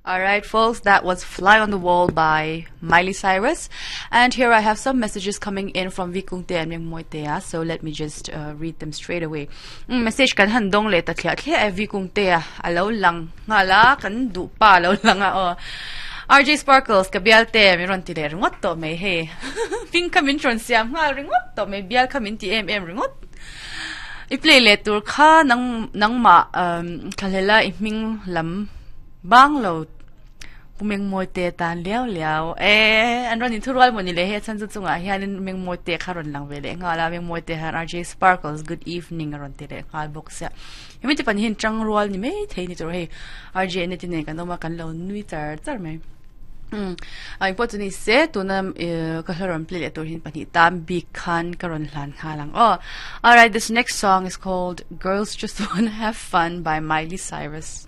Alright folks, that was Fly on the Wall by Miley Cyrus. And here I have some messages coming in from Vikungte and Mengmoitea, so let me just uh, read them straight away. Mm, message kan han dong le ta thlia thlia e Vikungtea alo lang nga la kan du pa lo lang a o. RJ Sparkles ka bial te mi ron ti le ringot to mai he. Ping ka min tron siam ngal ringot to mai bial ka min ti em em ringot. I play le tur kha nang nangma um thlalela i hming lam Bang lo Pu Mengmawite tan liau liau e an rawn inthurual maw ni le he a chhan chu chungah hianin Mengmawite kha rawn lang ve leh nghal a Mengmawite hian RJ Sparkles good evening a rawn ti leh nghal bawk sia hemi te pahnih hi tang rual ni mai thei ni tur hei RJ ane te nen kan awm a kan lo nui char char mai umm a engpawh chu ni se tuna ihh ka hla rawn play leh tur hi pahnih tan bik khan ka rawn hlan nghal ang aw alright this next song is called Girls Just Wanna Have Fun by Miley Cyrus.